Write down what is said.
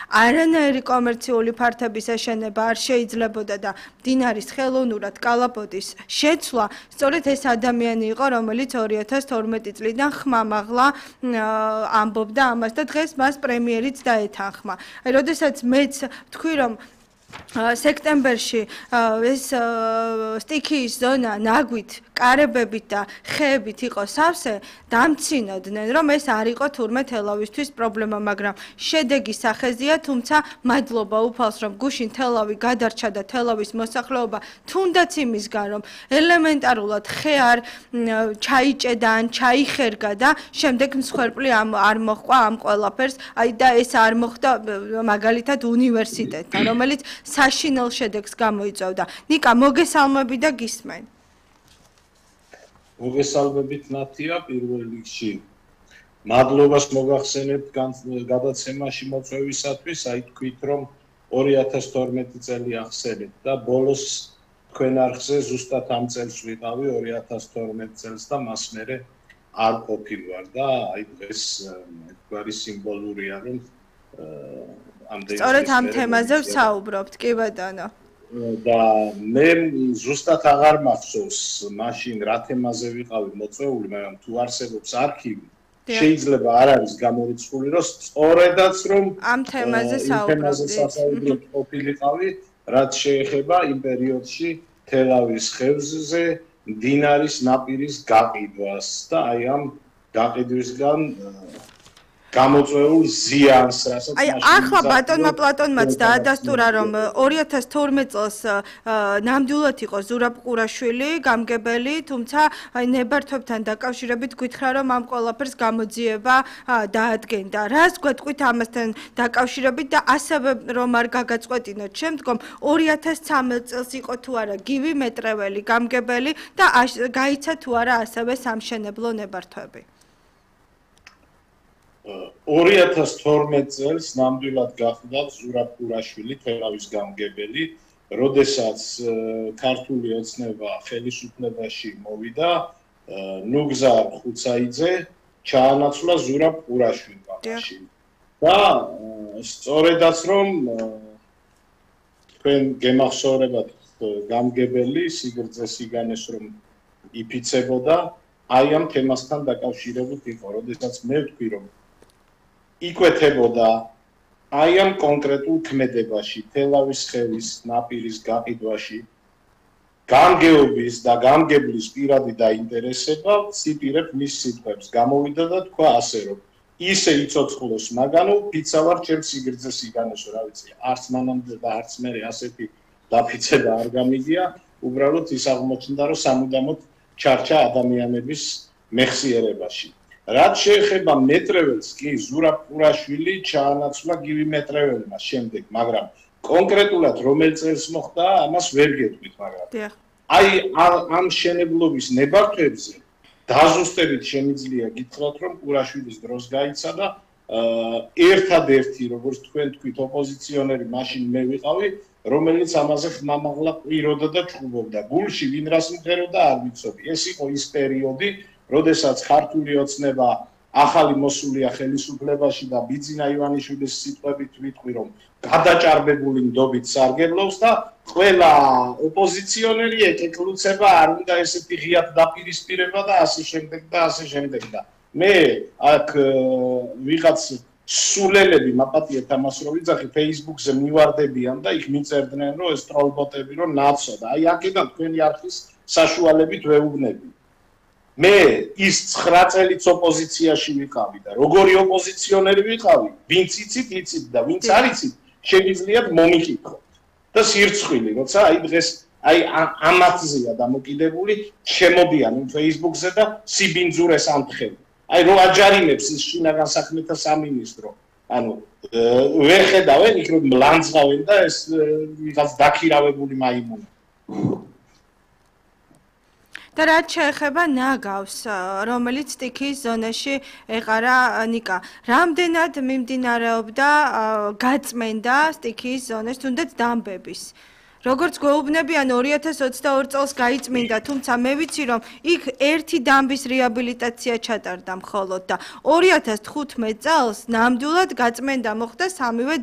არანაირი კომერციული ფართების ეშენება არ შეიძლებოდა და მდინარის ხელოვნურად კალაპოტის შეცვლა სწორედ ეს ადამიანი იყო, რომელიც 2012 წლიდან ხმამაღლა ამბობდა ამას და დღეს მას პრემიერიც დაეთანხმა. აი, როდესაც მეც თქვი, რომ სექტემბერში ეს სტიქიის ზონა ნაგვით, კარებებით და ხეებით იყო სავსე, დამცინოდნენ, რომ ეს არ იყო თურმე თელავისთვის პრობლემა, მაგრამ შედეგი სახეზეა, თუმცა მადლობა უფალს, რომ გუშინ თელავი გადარჩა და თელავის მოსახლეობა თუნდაც იმისგან, რომ ელემენტარულად ხე არ ჩაიჭედა ან ჩაიხერგა და შემდეგ მსხვერპლი არ მოჰყვა ამ ყველაფერს, აი და ეს არ მოხდა მაგალითად უნივერსიტეტთან, რომელიც საშინელ შედეგს გამოიწვევდა. ნიკა, მოგესალმები და გისმენ. მოგესალმებით ნათია, პირველ რიგში მადლობას მოგახსენებთ გადაცემაში მოწვევისათვის, აი თქვით, რომ 2012 წელი ახსენეთ და ბოლოს თქვენ არხზე ზუსტად ამ წელს ვიყავი 2012 წელს და მას მერე არ ყოფილვარ და აი დღეს თქვარი სიმბოლურია, რომ სწორედ ამ თემაზე ვსაუბრობთ, კი ბატონო. და მე ზუსტად აღარ მახსოვს მაშინ რა თემაზე ვიყავი მოწვეული, მაგრამ თუ არსებობს არქივი, შეიძლება არ არის გამორიცხული, რომ სწორედაც რომ ამ თემაზე საუბრობთ ყოფილიყავი, რაც შეეხება იმ პერიოდში თელავის ხევზზე მდინარის ნაპირის გაყიდვას და აი ამ გაყიდვისგან გამოწვეულ ზიანს, რასაც აი ახლა ბატონმა პლატონმაც დაადასტურა, რომ 2012 წელს ნამდვილად იყო ზურაბ ყურაშვილი გამგებელი, თუმცა აი ნებართვებთან დაკავშირებით გითხრა, რომ ამ ყველაფერს გამოძიება დაადგენდა. რას გვეტყვით ამასთან დაკავშირებით და ასევე რომ არ გაგაწყვეტინოთ შემდგომ 2013 წელს იყო თუ არა გივი მეტრეველი გამგებელი და გაიცა თუ არა ასევე სამშენებლო ნებართვები. 2012 წელს ნამდვილად გახდა ზურაბ ყურაშვილი თელავის გამგებელი, როდესაც ქართული ოცნება ხელისუფლებაში მოვიდა, ნუგზარ ხუცაიძე ჩაანაცვლა ზურაბ ყურაშვილმა მაშინ. და სწორედაც რომ თქვენ გემახსოვრებათ გამგებელი სიგრძე სიგანეს რომ იფიცებოდა, აი ამ თემასთან დაკავშირებით იყო, როდესაც მე ვთქვი, რომ იკვეთებოდა აი ამ კონკრეტულ ქმედებაში, თელავის ხევის ნაპირის გაყიდვაში, გამგეობის და გამგებლის პირადი დაინტერესება, ციტირებ მის სიტყვებს, გამოვიდა და თქვა ასე, რომ ისე იცოცხლოს მაგანო, ფიცა ვარ ჩემ სიგრძე სიგანესო, რა ვიცი, არც მანამდე და არც მერე ასეთი დაფიცება არ გამიგია, უბრალოდ ის აღმოჩნდა, რომ სამუდამოდ ჩარჩა ადამიანების მეხსიერებაში. რაც შეეხება მეტრეველს, კი ზურაბ ყურაშვილი ჩაანაცვლა გივი მეტრეველმა შემდეგ, მაგრამ კონკრეტულად რომელ წელს მოხდა, ამას ვერ გეტყვით, მაგრამ აი ამ შენებლობის ნებართვებზე დაზუსტებით შემიძლია გითხრათ, რომ ყურაშვილის დროს გაიცა და ერთადერთი, როგორც თქვენ თქვით, ოპოზიციონერი მაშინ მე ვიყავი, რომელიც ამაზე ხმამაღლა ყვიროდა და ჭუბობდა. გულში ვინ რას მღეროდა არ ვიცოდი. ეს იყო ის პერიოდი, როდესაც ქართული ოცნება ახალი მოსულია ხელისუფლებაში და ბიძინა ივანიშვილის სიტყვებით ვიტყვი, რომ გადაჭარბებული ნდობით სარგებლობს და ყველა ოპოზიციონერი ეკეკლუცება, არ უნდა ესეთი ღიად დაპირისპირება და ასე შემდეგ და ასე შემდეგ და მე აქ ვიღაც სულელები მაპატიეთ ამას რომ ვიძახი Facebook-ზე მივარდებიან და იქ მიწერდნენ რომ ეს ტროლბოტები რომ ნაცო და აი აქედან თქვენი არხის საშუალებით ვეუბნები. მე ის 9 წელიც ოპოზიციაში ვიყავი და როგორი ოპოზიციონერი ვიყავი, ვინც იცით და ვინც არ იცით, შეგიძლიათ მომიკითხოთ. და სირცხვილი, როცა აი დღეს აი ამათზეა დამოკიდებული, შემოდიან იმ Facebook-ზე და სიბინძურეს ამთხენ. აი რო აჯარიმებს ის შინაგან საქმეთა სამინისტრო, ანუ ვერ ხედავენ იქ რომ ლანძღავენ და ეს ვიღაც დაქირავებული მაიმუნი. და რაც შეეხება ნაგავს, რომელიც სტიქიის ზონაში ეყარა ნიკა, რამდენად მიმდინარეობდა გაწმენდა სტიქიის ზონაში, თუნდაც დამბების. როგორც გვეუბნებიან 2022 წელს გაიწმინდა, თუმცა მე ვიცი რომ იქ ერთი დამბის რეაბილიტაცია ჩატარდა მხოლოდ და 2015 წელს ნამდვილად გაწმენდა მოხდა სამივე